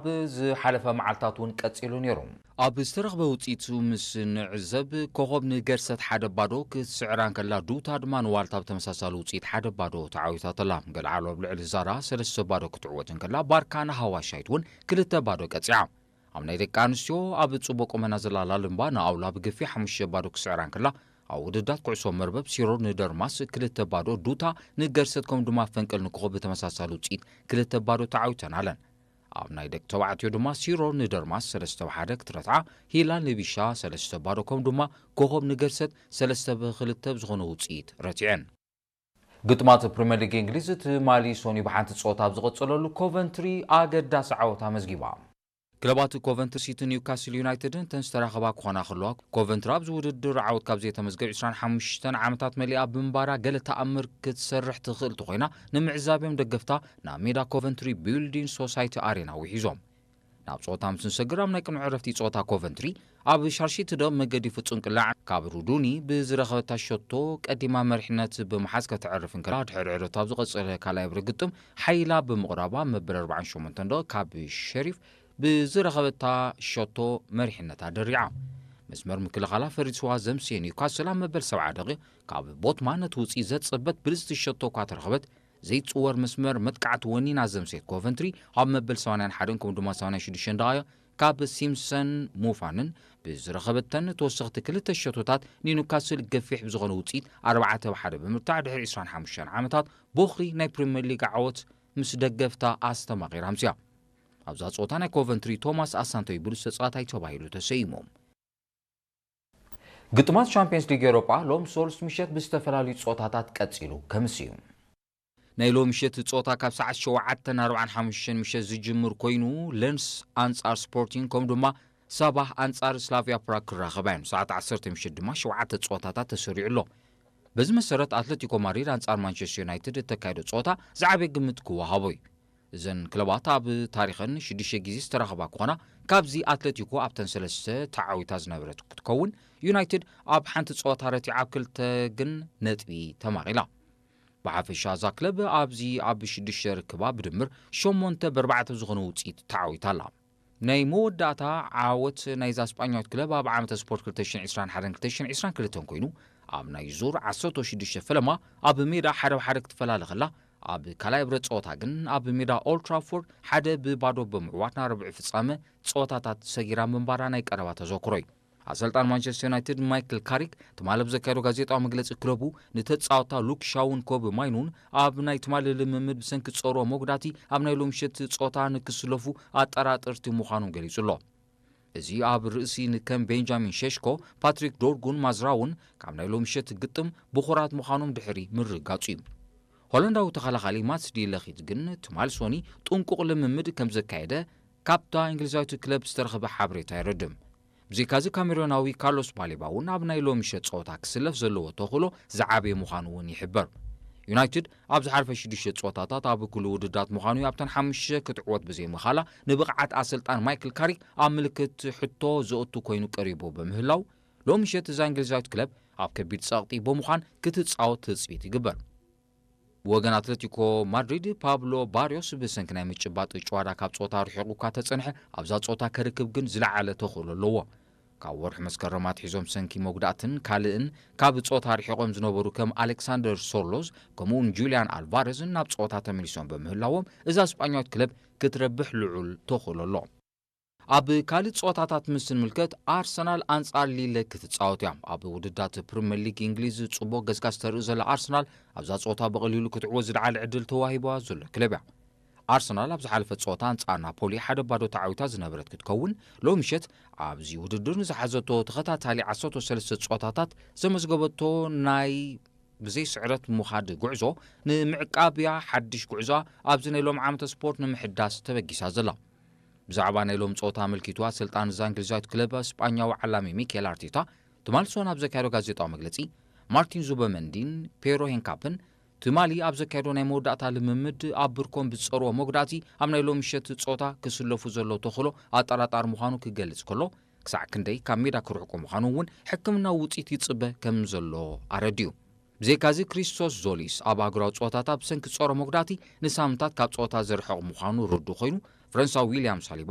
ኣብ ዝሓለፈ መዓልታት እውን ቀጺሉ ነይሩ። ኣብ ዝተረኽበ ውጽኢቱ ምስ ንዕዘብ፣ ኮኾብ ንገርሰት ሓደ ባዶ ክትስዕራ እንከላ፣ ዱታ ድማ ንዋልታ ብተመሳሳሊ ውጽኢት ሓደ ባዶ ተዓዊታትላ። ገልዓሉ ኣብ ልዕሊ ዛራ ሰለስተ ባዶ ክትዕወት እንከላ፣ ባርካ ንሃዋሻይት እውን ክልተ ባዶ ቀጺዓ። ኣብ ናይ ደቂ ኣንስትዮ ኣብ ጽቡቕ ቁመና ዘላ ላልምባ ንኣውላ ብግፊ ሓሙሽተ ባዶ ክስዕራ እንከላ፣ ኣብ ውድዳት ኩዕሶ መርበብ ሲሮር ንደርማስ ክልተ ባዶ፣ ዱታ ንገርሰት ከምኡ ድማ ፈንቅል ንኮኾብ ብተመሳሳሊ ውጽኢት ክልተ ባዶ ተዓዊተን ኣለን። ኣብ ናይ ደቂ ተባዕትዮ ድማ ሲሮር ንደርማስ ሰለስተ ብ ሓደ ክትረትዓ፣ ሂላል ንቢሻ ሰለስተ ባዶ ከምኡ ድማ ኮኾብ ንገርሰት ሰለስተ ብ ክልተ ብዝኾነ ውጽኢት ረቲዐን። ግጥማት ፕሪምየር ሊግ እንግሊዝ ትማሊ ሶኒ ብሓንቲ ጸወታ ኣብ ዝቐጸለሉ ኮቨንትሪ ኣገዳሲ ዓወት ኣመዝጊባ። ክለባት ኮቨንትሪ ሲቲ ኒውካስል ዩናይትድን እተን ዝተራኸባ ክኾና ከለዋ፣ ኮቨንትሪ ኣብዚ ውድድር ዓወት ካብ ዘይተመዝገብ ዕስራን ሓሙሽተን ዓመታት መሊኣ ብምንባራ፣ ገለ ተኣምር ክትሰርሕ ትኽእል እንተኾይና ንምዕዛብ እዮም ደገፍታ ናብ ሜዳ ኮቨንትሪ ቢልዲንግ ሶሳይቲ ኣሬና ውሒዞም። ናብ ጸወታ ምስ ንሰግር፣ ኣብ ናይ ቅድሚ ዕረፍቲ ጸወታ ኮቨንትሪ ኣብ ሻርሺ ትደቕ መገዲ ፍጹም ቅላዕ ካብ ሩዱኒ ብዝረኸበታ ሸቶ ቀዲማ መሪሕነት ብምሓዝ ከተዕርፍ እንከላ፣ ድሕሪ ዕረፍቲ ኣብ ዝቐጸለ ካልኣይ ብርግጥም ሓይላ ብምቕራባ መበል ኣርባዓን ሸሞንተን ደቕ ካብ ሸሪፍ ብዝረኸበታ ሸቶ መሪሕነታ ደሪዓ። መስመር ምክልኻላ ፈሪስዋ ዘምስየ ኒውካስል ኣብ መበል ሰብዓ ደቒቕ ካብ ቦትማን ነቲ ውጽኢት ዘጸበት ብልጽቲ ሸቶ እኳ ተረኸበት፣ ዘይጽወር መስመር መጥቃዕቲ ወኒና ዘምስየት ኮቨንትሪ ኣብ መበል ሰማንያን ሓደን ከምኡ ድማ ሰማንያን ሽዱሽተን ደቓይቕ ካብ ሲምሰን ሙፋንን ብዝረኸበተን ተወሰኽቲ ክልተ ሸቶታት ንኒውካስል ገፊሕ ብዝኾነ ውጽኢት ኣርባዕተ ብ ሓደ ብምርታዕ ድሕሪ ዕስራን ሓሙሽተን ዓመታት ቦኽሪ ናይ ፕሪምየር ሊግ ዓወት ምስ ደገፍታ ኣስተማቒራ ኣምስያ። ኣብዛ ጸወታ ናይ ኮቨንትሪ ቶማስ ኣሳንቶይ ብሉጽ ተጻዋታይ ተባሂሉ ተሰይሙ። ግጥማት ቻምፒየንስ ሊግ ኤውሮጳ ሎም ሶሉስ ምሸት ብዝተፈላለዩ ጸወታታት ቀጺሉ ከምስ እዩ። ናይ ሎሚ ምሸት ጸወታ ካብ ሰዓት ሸውዓተን ኣርባዓን ሓሙሽተን ምሸት ዝጅምር ኮይኑ፣ ለንስ ኣንጻር ስፖርቲንግ ከምኡ ድማ ሳባህ ኣንጻር ስላቪያ ፕራግ ክራኸባ እየን። ሰዓት ዓሰርተ ምሸት ድማ ሸውዓተ ጸወታታት ተሰሪዑ ኣሎ። በዚ መሰረት ኣትለቲኮ ማድሪድ ኣንጻር ማንቸስተር ዩናይትድ እተካየዶ ጸወታ ዝዓበየ ግምት ክወሃቦ እዩ። እዘን ክለባት ኣብ ታሪኸን ሽዱሽተ ግዜ ዝተራኸባ ክኾና፣ ካብዚ ኣትለቲኮ ኣብተን ሰለስተ ተዓዊታ ዝነበረት ክትከውን፣ ዩናይትድ ኣብ ሓንቲ ጸወታ ረቲዓ ኣብ ክልተ ግን ነጥቢ ተማቒላ። ብሓፈሻ እዛ ክለብ ኣብዚ ኣብ ሽዱሽተ ርክባ ብድምር ሸሞንተ ብ ኣርባዕተ ዝኾነ ውጽኢት ተዓዊታ ኣላ። ናይ መወዳእታ ዓወት ናይዛ ስጳኛዊት ክለብ ኣብ ዓመተ ስፖርት ክልተ ሽሕን ዕስራን ሓደን ክልተ ሽሕን ዕስራን ክልተን ኮይኑ፣ ኣብ ናይ ዙር ዓሰርተ ሽዱሽተ ፈለማ ኣብ ሜዳ ሓደ ብ ሓደ ክትፈላለ ከላ፣ ኣብ ካልኣይ ብረት ጸወታ ግን ኣብ ሜዳ ኦልድ ትራፎርድ ሓደ ብባዶ ብምዕዋት ናብ ርብዒ ፍጻመ ጸወታታት ሰጊራ ምንባራ ናይ ቀረባ ተዘክሮ እዩ። ኣሰልጣን ማንቸስተር ዩናይትድ ማይክል ካሪክ ትማሊ ኣብ ዘካየዶ ጋዜጣዊ መግለጺ፣ ክለቡ ንተጻወታ ሉክ ሻውን ኮቢ ማይኑን ኣብ ናይ ትማሊ ልምምድ ብሰንኪ ዝጸርዎ መጉዳእቲ ኣብ ናይ ሎሚ ምሸት ጸወታ ንክስለፉ ኣጠራጠርቲ ምዃኖም ገሊጹ ኣሎ። እዚ ኣብ ርእሲ ንከም ቤንጃሚን ሸሽኮ፣ ፓትሪክ ዶርጉን ማዝራውን ካብ ናይ ሎሚ ምሸት ግጥም ብኹራት ምዃኖም ድሕሪ ምርግጋጹ እዩ። ሆላንዳዊ ተኸላኻሊ ማትስ ዲ ለኺት ግን ትማሊ ሶኒ ጥንቁቕ ልምምድ ከም ዘካየደ ካብታ እንግሊዛዊት ክለብ ዝተረኽበ ሓበሬታ የረድም። ብዘይካዚ ካሜሮናዊ ካርሎስ ባሌባ እውን ኣብ ናይ ሎሚ ምሸት ጸወታ ክስለፍ ዘለዎ ተኽእሎ ዝዓበየ ምዃኑ እውን ይሕበር። ዩናይትድ ኣብ ዝሓለፈ ሽዱሽተ ጸወታታት ኣብ ኩሉ ውድዳት ምዃኑ እዩ ኣብተን ሓሙሽተ ክትዕወት ብዘይምኻላ ንብቕዓት ኣሰልጣን ማይክል ካሪክ ኣብ ምልክት ሕቶ ዘእቱ ኮይኑ ቀሪቡ ብምህላው፣ ሎሚ ምሸት እዛ እንግሊዛዊት ክለብ ኣብ ከቢድ ጸቕጢ ብምዃን ክትጻወት ትጽቢት ይግበር። ብወገን ኣትለቲኮ ማድሪድ ፓብሎ ባርዮስ ብሰንኪ ናይ ምጭባጥ ጭዋዳ ካብ ጸወታ ርሒቑ እኳ ተጸንሐ፣ ኣብዛ ጸወታ ከርክብ ግን ዝለዓለ ተኽእሎ ኣለዎ። ካብ ወርሒ መስከረም ኣትሒዞም ብሰንኪ መጉዳእትን ካልእን ካብ ጸወታ ርሒቖም ዝነበሩ ከም ኣሌክሳንደር ሶርሎዝ ከምኡውን ጁልያን ኣልቫረዝን ናብ ጸወታ ተመሊሶም ብምህላዎም እዛ ስጳኛዊት ክለብ ክትረብሕ ልዑል ተኽእሎ ኣሎ። ኣብ ካልእ ጸወታታት ምስ እንምልከት፣ ኣርሰናል ኣንጻር ሊለ ክትጻወት እያ። ኣብ ውድዳት ፕሪምየር ሊግ እንግሊዝ ጽቡቕ ገስጋስ ተርኢ ዘላ ኣርሰናል ኣብዛ ጸወታ ብቐሊሉ ክትዕወት ዝለዓለ ዕድል ተዋሂባ ዘሎ ክለብ እያ። ኣርሰናል ኣብ ዝሓለፈ ጸወታ ኣንጻር ናፖሊ ሓደ ባዶ ተዓዊታ ዝነበረት ክትከውን፣ ሎሚ ምሸት ኣብዚ ውድድር ንዝሓዘቶ ተኸታታሊ ዓሰርተ ሰለስተ ጸወታታት ዘመዝገበቶ ናይ ብዘይ ስዕረት ምኻድ ጉዕዞ ንምዕቃብ እያ ሓድሽ ጉዕዞ ኣብዚ ናይ ሎም ዓመተ ስፖርት ንምሕዳስ ተበጊሳ ዘላ። ብዛዕባ ናይ ሎም ጸወታ ኣመልኪቱ ኣሰልጣን እዛ እንግሊዛዊት ክለብ ስጳኛዊ ዓላሚ ሚኬል ኣርቴታ ትማሊ ሶን ኣብ ዘካየዶ ጋዜጣዊ መግለጺ፣ ማርቲን ዙበመንዲን ፔሮ ሄንካፕን ትማሊ ኣብ ዘካየዶ ናይ መወዳእታ ልምምድ ኣብ ብርኮም ብዝጸርዎ መጉዳእቲ ኣብ ናይ ሎም ምሸት ጸወታ ክስለፉ ዘሎ ተኽእሎ ኣጠራጣሪ ምዃኑ ክገልጽ ከሎ፣ ክሳዕ ክንደይ ካብ ሜዳ ክርሕቁ ምዃኑ እውን ሕክምናዊ ውጽኢት ይጽበ ከም ዘሎ ኣረድዩ። ብዘይካዚ ክሪስቶስ ዞሊስ ኣብ ኣህጉራዊ ጸወታታት ብሰንኪ ዝጸሮ መጉዳእቲ ንሳምንታት ካብ ጸወታ ዝርሕቕ ምዃኑ ርዱእ ኮይኑ፣ ፈረንሳዊ ዊልያም ሳሊባ